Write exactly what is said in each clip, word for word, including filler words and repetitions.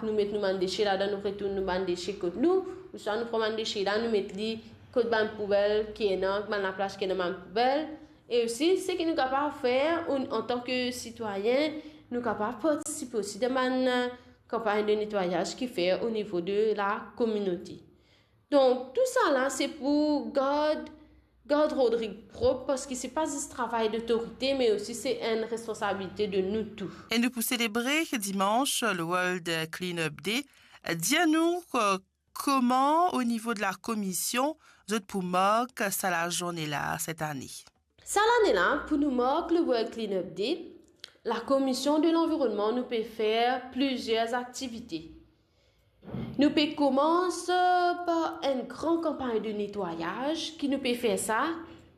nou met nou bann dese ladan, nou retourn nou bann dese kot nou, ouswa nou pran bann dese la, nou met li kot bann poubel ki ena, bann laplas ki ena bann poubel. E osi, seki nou kapav fer, an, antan ki sitwayin, nou kapav partisipe osi dan bann, eh, kanpagn de netwayaz ki fer o nivo de la kominote. Donk, tousala, se pou gard, gard Rodrig prop, parski se pa zis travay lotorite, me osi se enn responsabilite de nou tou. E nou pou selebre dimans le World Cleanup Day. Dir nou, eh, kouma, o nivo de la komision, zot pou mark sa lazourne la, set ane? Sa lane la, pou nou mark le World Cleanup Day, la Komision de Lanvironnman, nou pe fer plizier aktivite. Nou pe koumans par enn gran kanpagn de netwayaz ki nou pe fer sa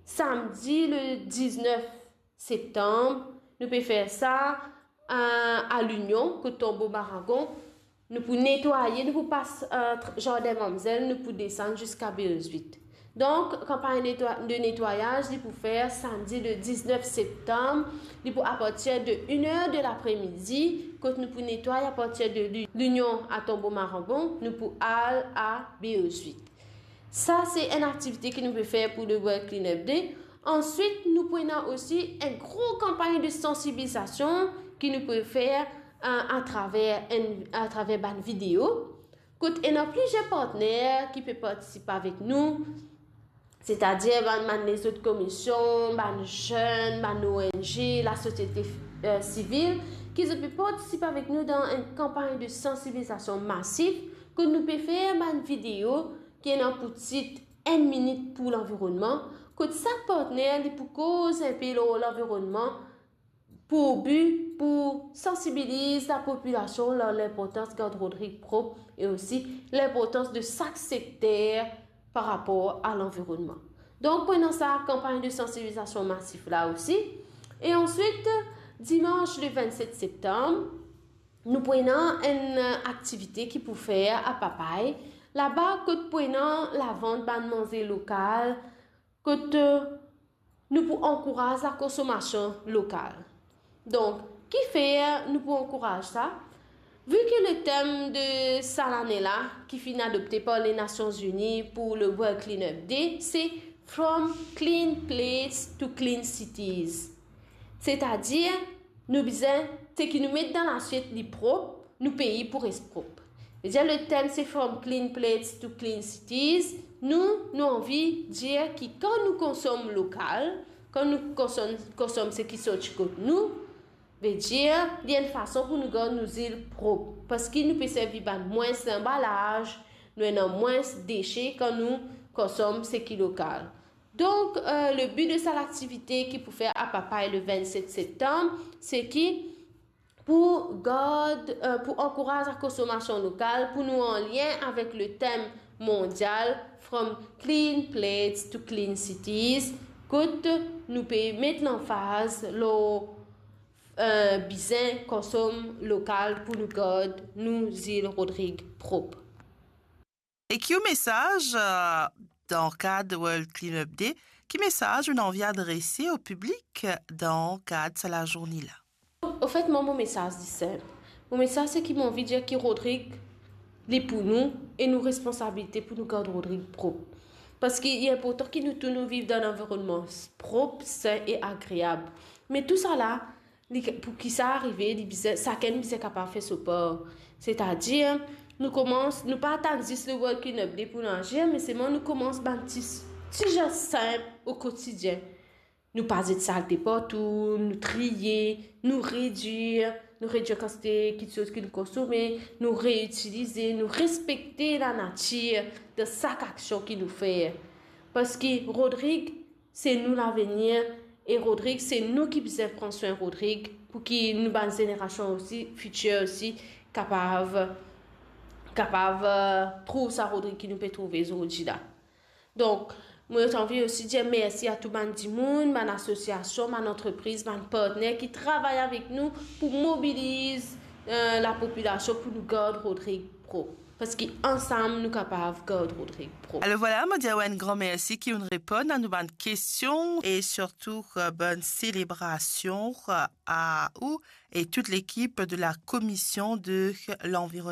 samdi le diznef septam. Nou pe fer sa, eh, a Linion, kot Tonbo Maragon. Nou pou netwaye, nou pou pas, eh, tr-, Zardin Mamzel, nou pou desann ziska Beozwit. Donk, kanpagn netwa-, de netwayaz, li pou fer samdi le diznef septam, li pou apartir de enn er de lapremidi, kot nou pou netway apartir de Li-, Linion a Tonbo Maragon, nou pou al a Beozwit. Sa, se enn aktivite ki nou pe fer pou le World Cleanup Day. Answit, nou pou ena osi enn gro kanpagn de sansibilizasion ki nou pou fer, eh, atraver enn, atraver bann video, kot ena plizier partner ki pe partisipe avek nou, setadir bann, bann lezot komision, bann zenn, bann O N G, lasosiete, eh, sivil, ki zot pe partisipe avek nou dan enn kanpagn de sansibilizasion masif, kot nou pe fer bann video ki ena pou tit Enn minit pou lanvironnman, kot sak partner li pou koz enpe lor lanvironnman, pou bi pou sansibiliz lapopilasion lor linportans gard Rodrig prop e osi linportans de sak sekter par rapor a lanvironnman. Donk, pou ena sa kanpagn de sansibilizasion masif la osi. E answit, dimans le vennset septam, nou pou ena enn, eh, aktivite ki pou fer a Papay, laba kot pou ena lavant bann manze lokal, kot, eh, nou pou ankouraz lakonsonmasion lokal. Donk, kifer nou pou ankouraz sa? Vi ki le tem de sa lane la, ki finn adopte par Lenasion Zini pou le World Cleanup Day, se From Clean Plates to Clean Cities. Setadir, nou bizin, seki nou met dan lasiet li prop, nou pei pou res prop. Vedir, le tem se From Clean Plates to Clean Cities. Nou, nou anvi dir ki kan nou konsom lokal, kan nou konsom, konsom seki sorti kot nou, vedir, li enn fason pou nou gard nou zil prop. Parski nou pe servi bann mwins lanbalaz, nou ena mwins dese kan nou konsom seki lokal. Donk, eh, le bi de sa laktivite ki pou fer a Papay le vennset septam, se ki pou gard, eh, pou ankouraz lakonsonmasion lokal, pou nou anlien avek le tem mondial From Clean Plates to Clean Cities, kot nou pe met lanfaz lor, eh, bizin konsom lokal pou nou gard nou zil Rodrig prop. E ki ou mesaz, eh, dan kad World Cleanup Day, ki mesaz ou anvi adrese o piblik dan kad sa lazourne la? Anfet, mwa, mo mesaz li sinp. Mo mesaz se ki mo anvi dir ki Rodrig, li pou nou, e nou responsabilite pou nou gard Rodrig prop. Parski li inportan ki nou tou nou viv dan enn lanvironnman s-, prop, sin e agreab. Me tousala, li, pou ki sa arive, li bizin, sakenn bizin kapav fer so par. Setadir, nou koumans, nou pa atann zis le World Cleanup Day pou nou azir, me selman nou koumans bann ti, ti zes sinp o kotidien. Nou pa zet salte partou, nou triye, nou redir, nou redir kantite kitsoz ki nou konsome, nou reitilize, nou respekte lanatir dan sak aksion ki nou fer. Parski Rodrig, se nou lavenir, e Rodrig, se nou ki bizin pran swin Rodrig, pou ki nou bann zenerasion osi, fitir osi, kapav, kapav, eh, trouv sa Rodrig ki nou pe trouve zordi la. Donk, mo anvi osi dir mersi a tou bann dimoun, bann asosiasion, bann antrepriz, bann partner ki travay avek nou pou mobiliz, eh, lapopilasion pou nou gard Rodrig prop. Parski ansam nou kapav gard Rodrig prop. Alor vwala, mo dir ou enn gran mersi ki ou'nn reponn a nou bann kestion e sirtou, eh, bonn selebrasion, eh, a ou e tout lekip de la Komision de Lanvironnman.